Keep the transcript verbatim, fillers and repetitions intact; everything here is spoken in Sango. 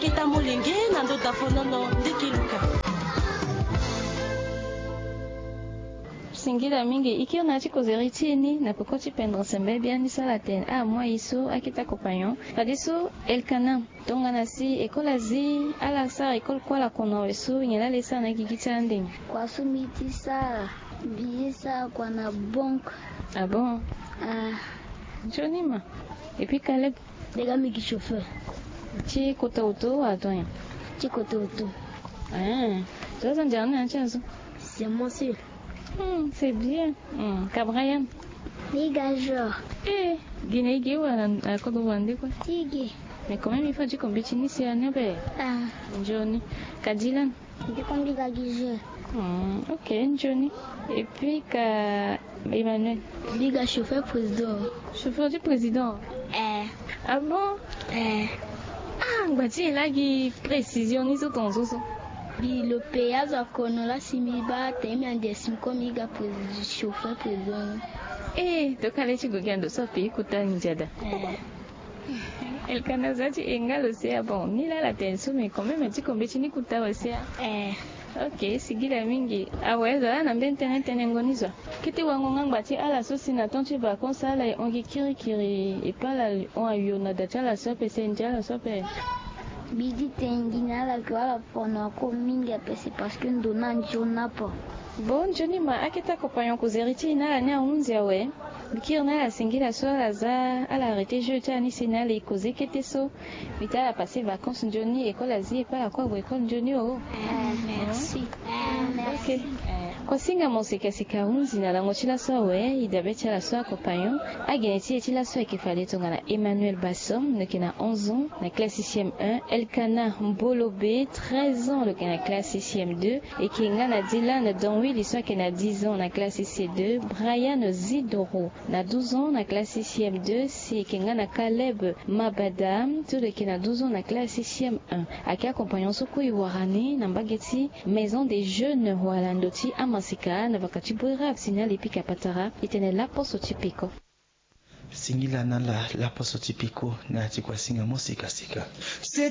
Ita molenge na ndo dafonono ndiki luka. Singila mingi e kiri na ya ti kozeri ti e ni na peko ti pendere sembe biani so ala tene amoi so akita compagnon. Fadeso Elkana, tongana si ekole azi ala sara ekole kue ala kono awe so nyen laa ala e sara na gigi ti ala ande nyen? Kua so mbi ti sara, mbi ye sara kua na banque. Ah bon? Ah. Nzoni ma. Et puis Caleb? Mbi ga mbi gi chauffeur. Ti kota auto wala tongana nyen? Ti kota auto. Ah. Zo aza nzara ni na ya ti azo? C'est mon seul. Hmm, c'est bien. Hmm, ka Brian? Mbi ga genre. Eh, gi na e ge wala na kodro wande kue? Ti ge. Mais quand même il faut ti ko mbeti ni si ane be. Ah. Nzoni. Ka Dylan? Mbi ti ko mbi ga gi jeu. Hmm, ok, nzoni. Et puis ka Emmanuel? Mbi ga chauffeur président. Chauffeur ti président? Eh. Ah bon? Eh. Ah, ngba ti e laa gi précision ni so tongaso so. Mbi lo payé azo akono laa si mbi baa tene mbi ande si mbi ko mbi ga prési- chauffeur président. Eh, tokua le ti gue gi ando so apayé kota ndia daa. Eh. Elkana, za ti e nga lo si a bon ni laa ala tene so mais quand même ti ko mbeti ni kota awe si a. Eh. Ok, singila mingi. Awe, zo laa na mbeni tënë tenengo ni zo. Kete wango nga ngba ti ala so si na temps ti vacances ala e hon gi kirikiri e pe ala hon ayo na da ti ala so ape, seni ti ala so ape? Mbi di tene gi na ala ke wala pono ako mingi ape, c'est parce que ndo ni anzoni apo. Bon, nzoni ma, akete compagnon kozeri ti e na ala ni ahunzi awe. Mbi kiri na ala singila so ala za ala arrêté jeu ti ala ni si na ala e koze kete so. Mbi tene ala passé vacances nzoni, école azi e pe ala kue ague école nzoni o. Eh, merci. Eh, merci. Ok. Kosinga mo sika sika ahunzi na lango ti laso awe. E dabe ti ala so akompagnon. Agene ti e ti laso ayeke fade tongana Emmanuel Bassom, lo yeke na onze ans, na classe sixième un. Elkana Mbolobe, treize ans, lo yeke na classe sixième deux. E yeke nga na Dylan Donwili so ayeke na dix ans na classe C deux. Brian Zidoro na douze ans na classe sixième deux. Si e yeke nga na Caleb Mabada so lo yeke na douze ans na classe sixième un. Ayeke akompagnon so kue e wara ni na mbage ti Maison des Jeunes wala ndo ti amasika na vaka ti Bouérab si na ala e pika patara. E tene laposo ti peko. Singila na ala laposo ti peko na ya ti kuasinga mo sikasika.